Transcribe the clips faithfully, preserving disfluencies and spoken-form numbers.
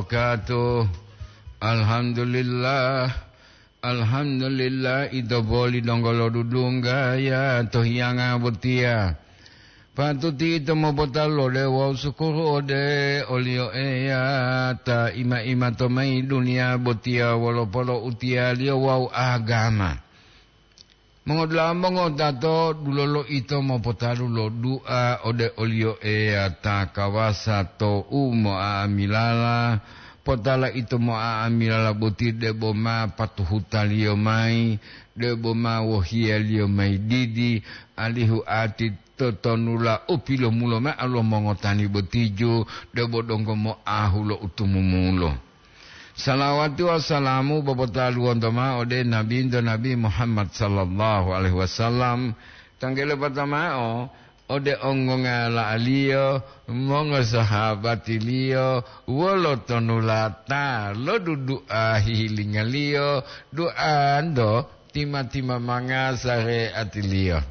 wabarakatuh. Alhamdulillah. Alhamdulillah, ito boli donggo lo dudungga ya to hiyanga botiya. Patuti ito mopotalu ode wawu sukuru ode oliyo Eya ta ima-ima to mayi duniya botiya wolo poloutiyaliyo wawu agama. Mongodula'a mongotato, dulolo ito mopotalu lo du'a ode oliyo Eya ta kawasa to u mo'a'amilala. Potala ito mo'a'amilala boti debo ma patuhutaliyo mayi, debo ma wohiyaliyo mayi didi, alihu ati totonula u pilomulo mao lo mongotani botiju, debo donggo moahu lo utumumulo. Salawati wawu salamu bopotaluwonto mao ode Nabinto Nabi Muhammad sallallahu alaihi wasallam, tanggele patamao ode onggongala'aliyo, mongosahabatiliyo, wolo tonulata lodudu'a hihilingaliyo, du'anto tima-timamanga sare'atiliyo.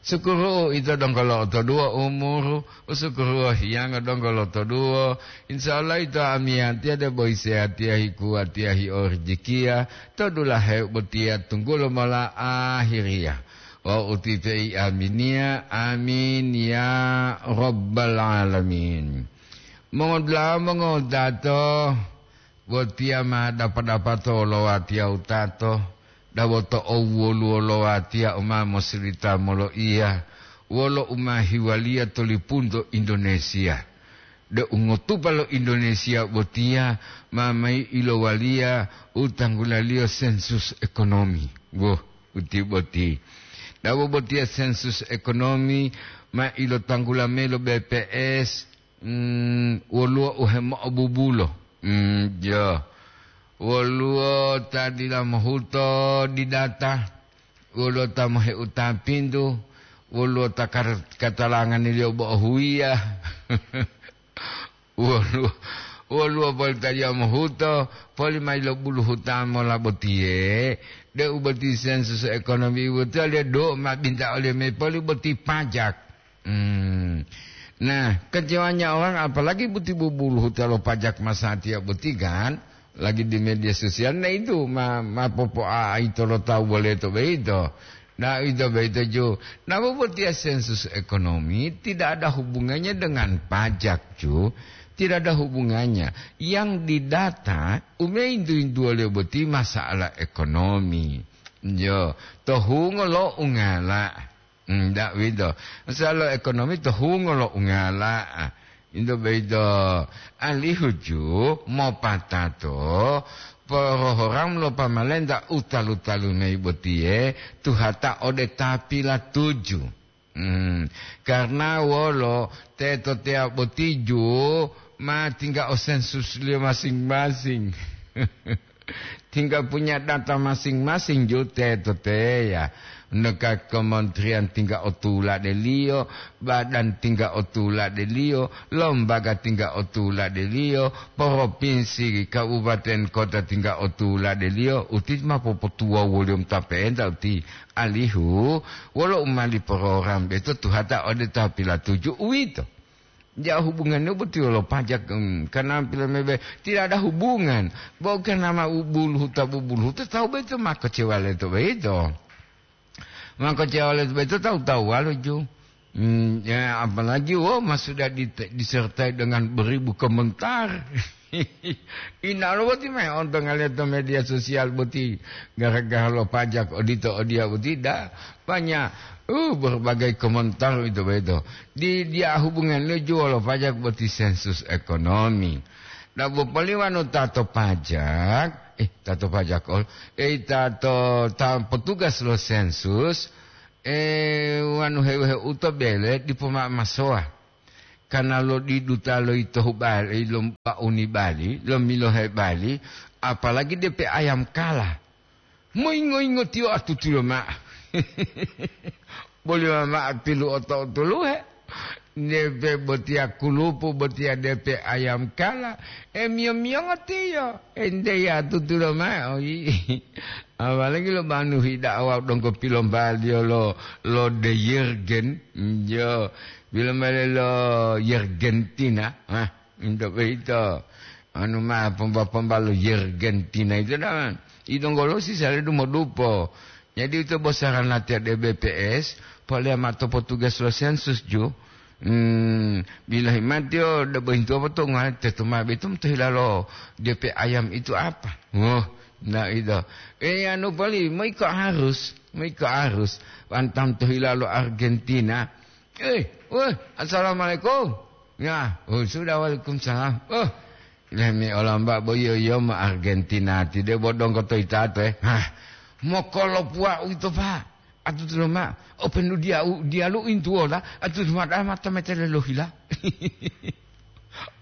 Sukuru ito donggo lo'otoduwo umuru, usukuru hiyango donggo lotoduwo. Insya Allah ito amiyatiya debo hisehatiya hikuwatiya hiorijikiya, to dulahe botiya tunggulo mola ahiriya. Wawu utipe'i aminiya, amin ya rabbal alamin. Mongodula'a mongotato, botiya ma dapa-dapato lo watiya wutato, dawoto owwoluwo lo watiya u ma mosilita moloiya, wolo u ma hiwaliya to lipunto Indonesia. De u ngotupa lo Indonesia botiya ma mayi ilowaliya u tanggulaliyo sensus ekonomi. Woh, uti boti. Dawo botiya sensus ekonomi ma ilotanggula mayi lo B P S, mm, woluwo u hemo'obubulo. Mm, jo. Woluwo ta dila mohuto di data, woluwo ta moheuta pintu, woluwo ta kar-, katalanganiliyo bo'o huwiya. Woluwo, woluwo poli ta dila mohuto, poli mayi lo bulu huta mola botiye, de'u boti sensus ekonomi botiye do ma binta oliyo mayi poli boti pajak. Hmm. Nah, kecewanya orang, apalagi boti bubuluhuta lo pajak masatiya boti kan, lagi di media sosial, nah itu ma, ma popo'a ito lo tawu boleto boyito. Nah, ito boyito ju. Nah, bobotiya sensus ekonomi tidak ada hubungannya dengan pajak, ju. Tidak ada hubungannya. Yang didata, ume intu-intuwaliyo boti masalah ekonomi. Jo, to hungo lo ungala. Hmm, ndak wito. Masalah ekonomi to hungo lo ungala. Into boyito, alihu ju mopatato porohoram lo pamalenta u talu-talu mayi botiye, tuhata ode ta pilatuju. Hmm, karna wolo teto teya boti ju ma tingga o sensusliyo masing-masing. Tinggal punya data masing-masing ju teto teya. Neka kementerian tinggal o tuladeliyo, badan tinggal o tuladeliyo, lembaga tinggal o tuladeliyo, provinsi, kabupaten, kota tinggal o tuladeliyo, uti ma popotuwawuliyo mota pe'enta uti. Alihu, wolo u mali program boyito tuhata ode ta pilatuju uwito. Ja hubungannya boti wolo pajak, em, karena pilamebe tidak ada hubungan. Bo karena ma u buluhuta, bubuluhuta, tawu boyito ma kecewa leto boyito. Ma kecewa leto boyito tawu-tawuwalo ju. Hmm, ya, apalagi, wo, ma sudah di-, disertai dengan beribu komentar. Inalo boti ma heontonga leto media sosial boti gara-gara lo pajak odito odiya boti, da. Banyak, uh, berbagai komentar itu boyito. Di, dia hubungan lo juwo lo pajak boti sensus ekonomi. Nah, bo poli wanu tato pajak, eh, tato pajak, ol, eh, tato, ta-, petugas lo sensus, eh, wanu heu-heu to bele dipo ma-, masowa. Karena lo diduta lo ito hubali, lo bauni bali, lo milohe bali, apalagi depe ayam kala. Moyingo-yingo tiyo atutulo ma'o. Boli mama pilu oto-otoluhe. Depe botiya kulupu, botiya depe ayam kala. E miyo-miyongo tiyo. Ente ya tutulo ma'o yi. Apalagi lo manuhi da'awa donggo pilombaliyo lo, lo de Yergen. Yo, pilombaliyo lo Yergentina. Hah, into boyito. Anu ma pomba-pomba lo Yergentina itu dah. Idonggolo sisa le dumodupo. Jadi itu bosaran latihan di B P S, polea ma to potugas lo sensus ju. Hmm, bilahi mati o, da bohintu apa to ngale tetu ma betum to hilalo D P ayam itu apa? Wah, nah itu. Eh, anu pali, mau ikut harus, mau ikut harus. Antam to hilalo Argentina. Eh, wah, assalamualaikum. Ya, oh, sudah, waalaikumsalam. Oh, lemi olamba bo iyo iyo ma Argentina ti de bodong ko to itato, eh. Hah, mokolopuwa uwito, Pak. Atutu loma, openu diau, dialu intuwola, atutu mada mata metele lohila.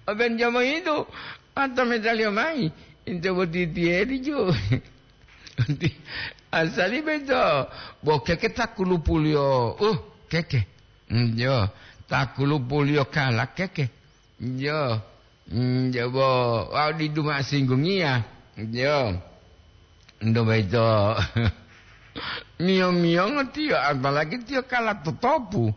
Oben jamo itu, mata metele mai. Inte boti tiedi jo. Asali beto, bo keke takulupuliyo, uh, keke. Mm, jo, takulupuliyo kala keke. Jo, mm, jo bo, wau didu ma singgungiya. Jo, ndo boyito. Miyo-miyongo tiyo, apalagi tiyo kala totopu.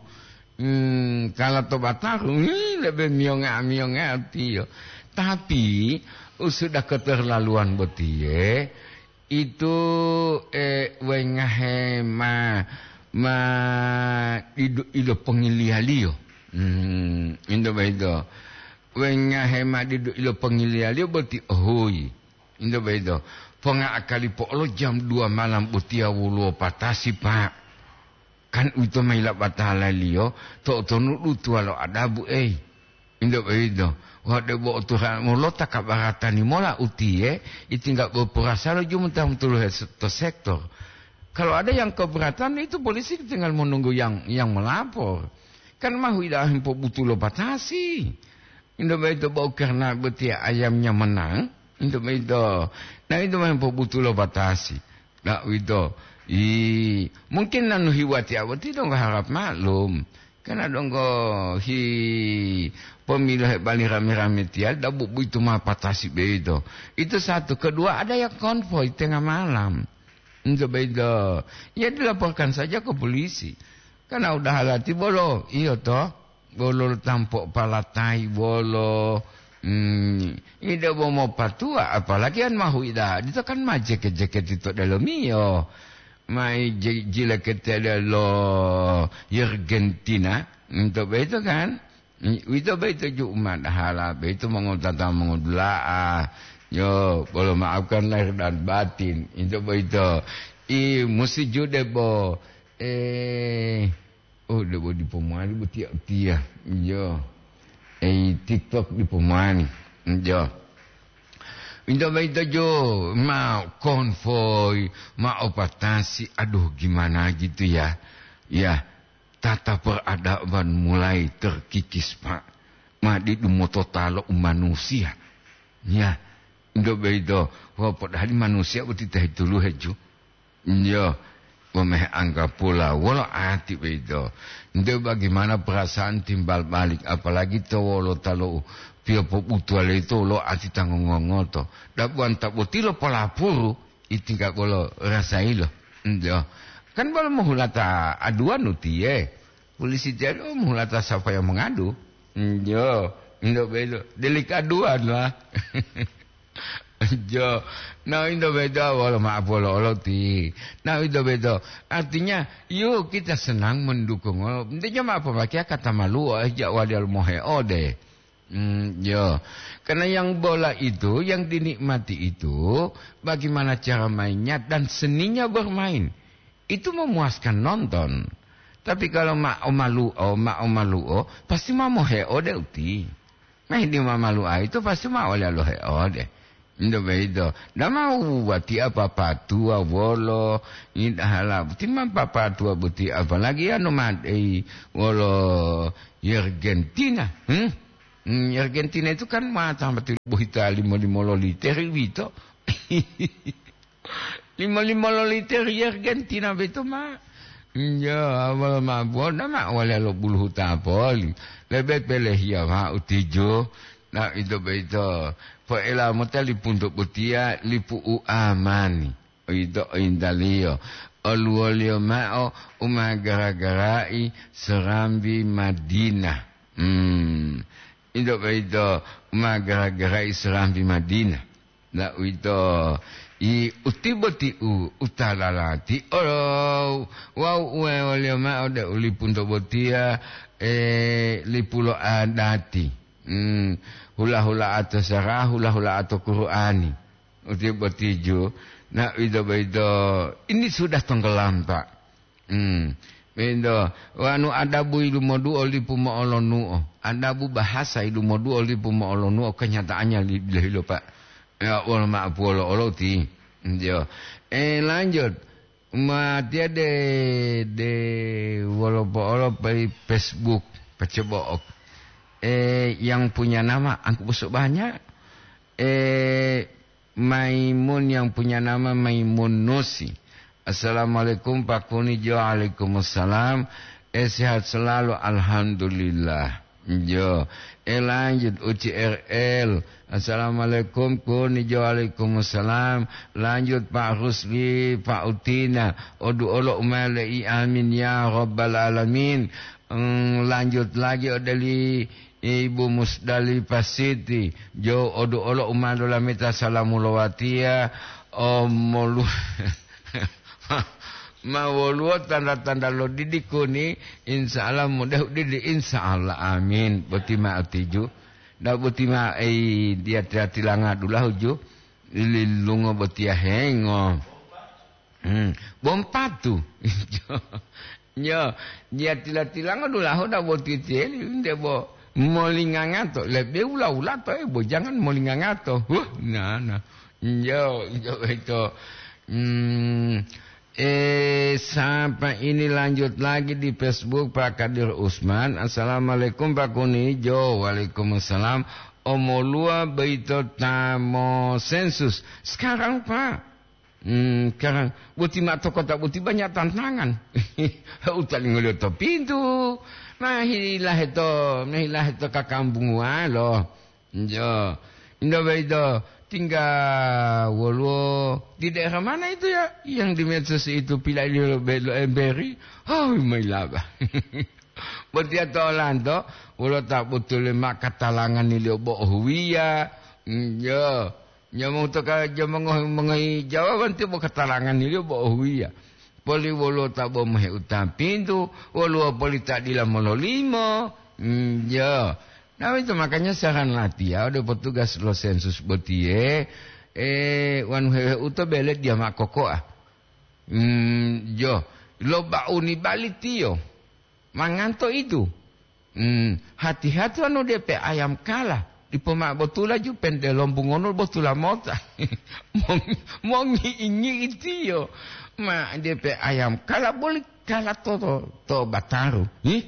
Hmm, kala to bataru, hmm, lebe miyonga-miyonga tiyo. Tapi, usuda keterlaluan botiye, itu, eh, wengahe ma, ma didu ilo pongiliyaliyo. Hmm, into boyito. Wengahe ma didu ilo pongiliyaliyo boti ohuyi. Into boyito. Ponga akali po'olo jam dua malam botiya woluwo patasi, Pak. Kan uwito ma yilapatalaliyo, to'otonudu tuwalo adabu, ei. Into boyito, wau debo otuhula molota kabaratani mola utiye, itingga bo porasalo jumutaha motuluhe se-, to sektor. Kalau ada yang keberatan, itu polisi tinggal menunggu yang, yang melapor. Kan mahu ida hempobutu lo batasi. Into boyito bo karena botiya ayamnya menang, into boyito. Nah, itu ma hempobutu lo batasi. Nah, uwito. I, mungkin nanu hiwati awati donggo harap maklum. Karena donggo hi pemilu hebali rame-rame tiya, dabu buitu ma patasi beito. Itu satu. Kedua, ada yang konvoi tengah malam. Itu beito. Ya, dilaporkan saja ke polisi. Karena udah halati bolo, iyo toh. Bolo tampo palatai bolo. Hmm, ida bo mopatuwa, apalagi an mahu ida. Dito kan ma jeke-jeke tito delomiyo. Mai je-, jilekete lo Yergentina. Into boyito kan? Uwito boyito ju umadahala, boyito mongotata mongodula'a. Yo, bolo maafkan lahir dan batin. Into boyito. I, musi ju debo, eh, oh, debo dipo mowali botiya utiya. Iyo. Ei, TikTok dipo mowali. Iyo. Into boyito jo, ma konvoi, ma opatasi, aduh, gimana gitu ya. Ya, tata peradaban mulai terkikis, Pak. Ma didu motota lo umanusiya. Ya, into boyito, wau padahali manusiya boti ta hituluhe ju. Iyo, momehe anggapula wolo ati boyito. Nte bagaimana perasaan timbal balik, apalagi to wolota lo piyopobutuwaliyo yito wolo ati ta ngongongoto. Dabuwanta boti lo polapuru, itingga bolo rasayilo. Iyo. Kan bolo mohulata aduwanu tiye. Polisi tiye, oh, mohulata sapa yang mengadu. Iyo. Indo boyito. Delik aduan lah. Jo, nah, into boyito wolo ma'o polo-oloti. Nah, into boyito. Artinya, yuk kita senang mendukung. Intinya ma pomakeya kata maluo, eh, ja wali moheode. Hmm, yo. Karena yang bola itu, yang dinikmati itu, bagaimana cara mainnya dan seninya bermain. Itu memuaskan nonton. Tapi kalau ma o maluo, ma o maluo, pasti ma moheode uti. Nah, di mamalu'a ito pasti ma ole lohe ode. Ndo boyito, dama watiya papatuwa wolo, idahala boti ma papatuwa boti, apalagi anu madei wolo Argentina. Hmm? Hmm, Argentina itu kan ma tambati bohita limo-limo loliter wito. Limo-limo loliter Argentina boyito ma. Iya, awal ma buona ma wale lo buluhuta poli. Lebe pelehiya ma'o tijo. Na ito boyito, poela mota lipu nto botiya, lipu u amani. Ito intaliyo. Oluwoliyo ma'o u ma gara-garai serambi Madinah. Hmm. Ito boyito ma gara-gara Isra pi Madinah. La uwito, i utibo tiu utalalati olo wawu uwewoliyo ma'o ode u lipunto botiya, e, lipu lo adati. Hmm, hula-hula'ato sara, hula-hula'ato Qur'ani. Utibo tiju, na uwito boyito, ini sudah tonggolampa. Hmm. Pinto, wanu adabu yilumoduo lipu mo'olonuo, adabu bahasa yilumoduo lipu mo'olonuo, kenyataannya li-, dila hilo, Pak. Ya, wolo ma'apuwolo olo ti. Yo. Eh, lanjut. Matiya de, de wolo po'olo pei Facebook, pacobo'ok. Eh, yang punya nama angku bosok banyak. Eh, Maimun yang punya nama Maimun Nusi. "Assalamualaikum, Pak Kuni." Jo, waalaikumsalam. Eh, sehat selalu, alhamdulillah. Jo. Eh, lanjut, U C R L. "Assalamualaikum, Kuni." Jo, waalaikumsalam. Lanjut, Pak Rusli, Pak Utina. Odu olo umale'i, amin ya rabbal alamin. Hmm, lanjut lagi, odeli Ibu Musdalifah Siti, jo odu olo u ma lolameta salamu lo watiya, o molu-, ma woluwo tanda-tanda lo didi kuni, insya Allah mudah didi, insya Allah, amin. Boti ma otiju, da boti ma ei dia tila-tilanga dulahu ju, lilungo botiya hengo. Hmm, bompatu. Nyo, dia tila-tilanga dulahu da boti tiyeli, nde bo molingangato, lebe ula-ula to, eh, bo jangan molingangato. Huh, na, na. Nyo, nyo itu. Hmm, eh, sapa ini lanjut lagi di Facebook, Pak Kadir Usman. "Assalamualaikum, Pak Kuni." Jo, waalaikumsalam. Omoluwa boyito ta mo sensus. Sekarang, Pak, Hmm, sekarang, boti ma'o to kota boti banyak tantangan. Utalingoliyo to pintu, mahilaheto, mahilaheto kakambunguwalo. Jo, indo boyito, tingga woluwo di daerah mana itu ya, yang di medsos itu pilailiyo lo be-, lo emberi? Oh, mailaba. Botiya to olanto, wolo ta botuli ma katalanganiliyo bo ohuwiya. Hmm, jo. Nyamongu to ka-, jamongo-, mongohi jawaban tiyo bo katalanganiliyo bo ohuwiya. Poli woluwo ta bo moheutang pintu, woluwo poli ta dila mololimo. Hmm, jo. Nah, itu makanya saran latiya ode petugas lo sensus botiye, eh, wanu hewe uto bele dia makokoa. Hmm, jo. Lo bauni bali tiyo. Manganto itu. Hmm, hati-hati wanu depe ayam kala, dipo ma'o botula ju pente lombungono botula mota. Mong-, mongi'i-ngi'i tiyo. Ma depe ayam kala boli kala to, to, to bataru. Hi?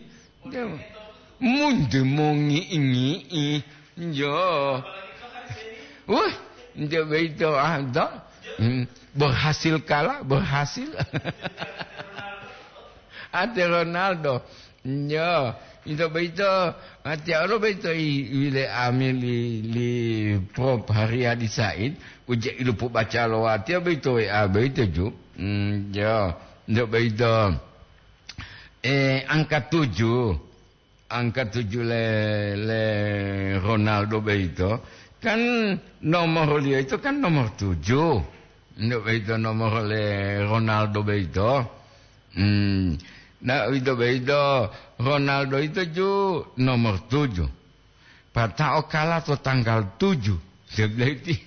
Munde mongi'i-ngi'i. Yo. Wah, nde boyito, ah, to. Hmm, berhasil kala, berhasil. Ate Ronaldo. Yo, ito boyito, ate olo boyito i, wile ami li, li Prof Haryadi Said, uje ilupu baca lo watiya boyito W A boyito ju. Hmm, yo, ito boyito. Eh, angka tujuh. Angka tujuh le, le Ronaldo boyito, kan nomorliyo ito kan nomor tujuh. Nde boyito nomor le Ronaldo boyito. Hmm. Nah, ito boyito, Ronaldo ito ju nomor tujuh. Pata'o kala to tanggal tujuh. Sebelah itu.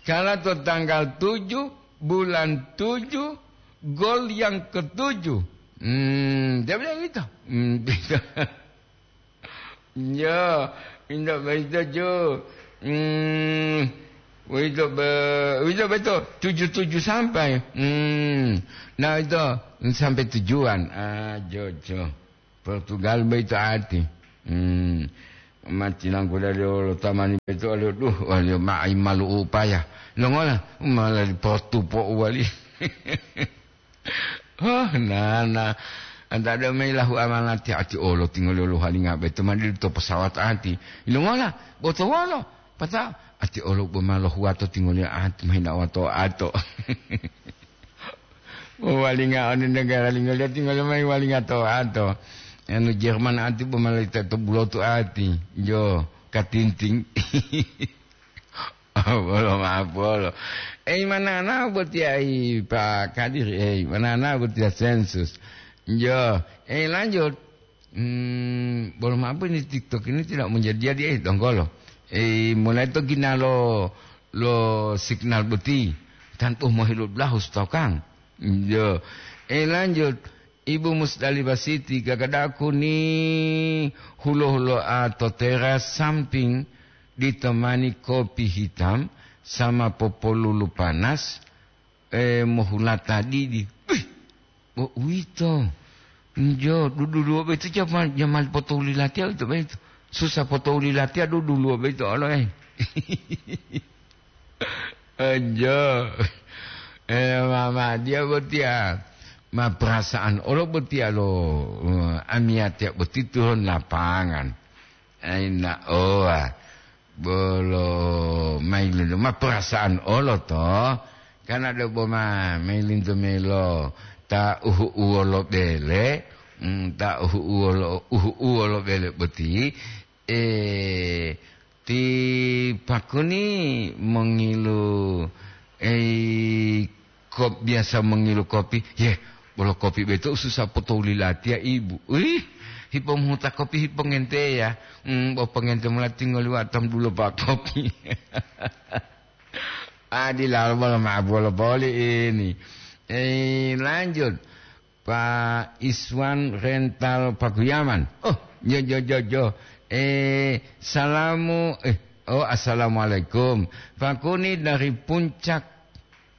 Kala to tanggal tujuh, bulan tujuh, gol yang ketujuh. Hmm, dia bilang gitu. Hmm, gitu. Ya, indak begitu, Jo. Hmm, begitu be-, begitu betul. Tujuh-tujuh sampai. Hmm, nah itu sampai tujuan. Ah, Jo, Jo. Portugal boyito ati. Hmm. Matinangkudaliyo lo tamani boyito waliyo, duh, waliyo ma'i malu upaya. Longola, mala dipotupo uwali. Oh, nana. Anta do mayi lahu amanati ati olo tingoliyo lohalinga boyito madidu to pesawat ati. Longola, boto wolo? Pata ati olo bo ma lohuwato tingoliyo ati mahinawa to ato. Walinga oni negara lingoliyo, tingoliyo mayi walinga to ato. Anu Jerman ati bo malaikati to bulotu ati. Jo, katinting. Bolo ma'apolo. Ei, manana boti ai, Pak Kadir, ei, manana boti ya sensus. Jo, ei, lanjut. Hmm, bolo ma'apo ini TikTok ini tidak menjadi-jadi, eh, donggolo. Eh, mulai to gina lo, lo signal boti. Tantu mohilu belahu stokan. Jo. Eh, lanjut. Ibu Musdalifah Siti, gagadaku ni hulo-huloa to teras samping ditemani kopi hitam sama popolulu panas, eh, mohulata didi. Wih, bo uwito. Njo, duduluwo boyito jamal, jamal potouli latiya uwito boyito. Susah potouli latiya duduluwo boyito olo, eh. Njo. Eh, mama, dia botiya. Ma perasaan olo botiya lo, eh, amiyatiya boti turun lapangan. Aina owa. Bolo mailuntu ma perasaan olo to. Kan ada boma mailintu melo ta uhu uwolo bele, mm, ta uhu uwolo, uhu uwolo bele boti, eh, ti pakuni mongilu, eh, Kop-, biasa mongilu kopi. Yeh, bolo kopi boyito ususa potouli latiya, Ibu. Wih, hipomuhuta kopi hipongenteya. Hmm, bo pongente mola tingoli watam dulo pa kopi. Adilalo bolo ma'apuwolo poli ini. Eh, lanjut. Pak Iswan Rental Pakuyaman. Oh, jo, jo, jo, jo. Eh, salamu, eh, oh, assalamualaikum. Pakuni dari Puncak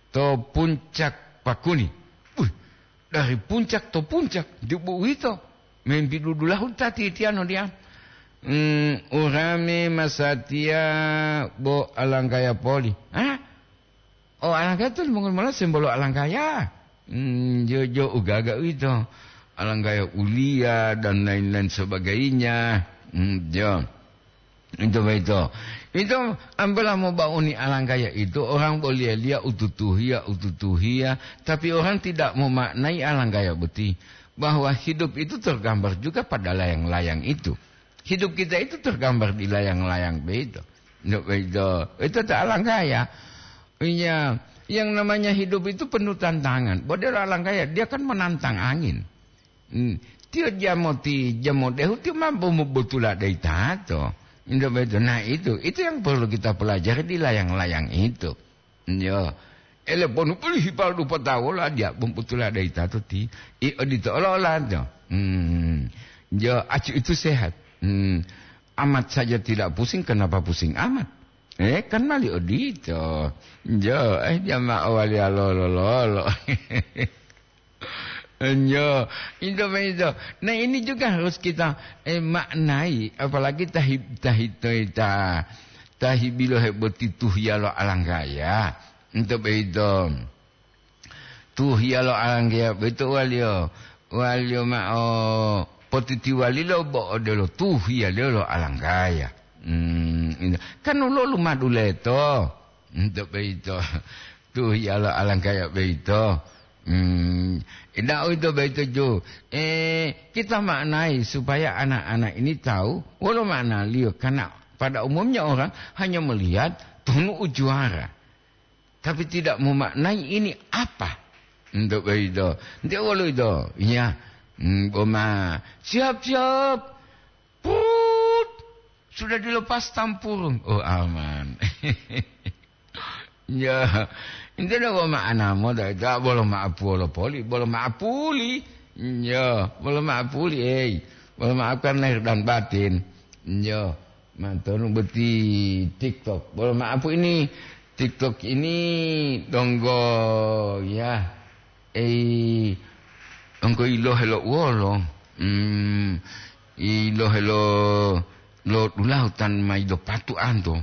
to Puncak Pakuni. Wih, dari Puncak to Puncak, di bu uwito. Membi dudulahu ta titiano dia. Hmm, urame masatiya bo alanggaya poli. Hah? Oh, alanggaya to limongoli mola sembolo alanggaya. Hmm, jo, jo, ugaga uwito. Alanggaya uliya dan lain-lain sebagainya. Hmm, jo. Itu begitu. Itu ambil mau bauni alanggaya itu, orang boleh lihat ututuhia, ututuhia, tapi orang tidak memaknai alanggaya beti, bahwa hidup itu tergambar juga pada layang-layang itu. Hidup kita itu tergambar di layang-layang begitu. Itu begitu. Itu tak alanggaya. Iya, yang namanya hidup itu penuh tantangan. Bodelo alanggaya, dia kan menantang angin. Hmm. Tiyo jamoti, jamodehu tiyo mampu mobotula dai tato. Indo beto. Nah, itu, itu yang perlu kita pelajari di layang-layang itu. Yo. Ele ponu puli hipal dupa tawola dia mobotula dai tato ti. I odito olo-ola to. Hmm. Yo, acu itu sehat. Hmm. Amat saja tidak pusing, kenapa pusing amat? Eh, kan mali odito. Jo, eh, jamaah waliya lolo-lolo. Jo, itu begitu. Nah, ini juga harus kita, eh, maknai, apalagi tahi-, tahitoi ta-, tahibilohe boti tuhiya lo alanggaya. Itu begitu. Tuhiya lo alanggaya boyito waliyo, waliyo ma'o potitiwalilo bo odelo tuhiyaliyo lo alanggaya. Hmm, kan woluwo lumadu leto. Ento boyito, tuhiya lo alanggaya boyito. Hmm, ida uwito boyito ju. Eh, kita maknai supaya anak-anak ini tahu wolo maknaliyo. Karena pada umumnya orang hanya melihat tunu u juara. Tapi tidak memaknai ini apa. Untuk begitu. Nanti wolo itu. Iya. Hmm, boma. Siap, siap. Put. Sudah dilepas tampurung. Oh, aman. Ya. Itu dah boma anamo dah. Itu bolo maapuli. Bolo maapuli. Ya. Bolo maapuli, eh. Bolo maafkan lahir dan batin. Ya. Mantonu boti TikTok. Bolo maaf ini, TikTok ini donggo ya. Eh, donggo ilohe lo uwolo. Hmm, ilohe lo, lo dulahu tan mai do patu anto.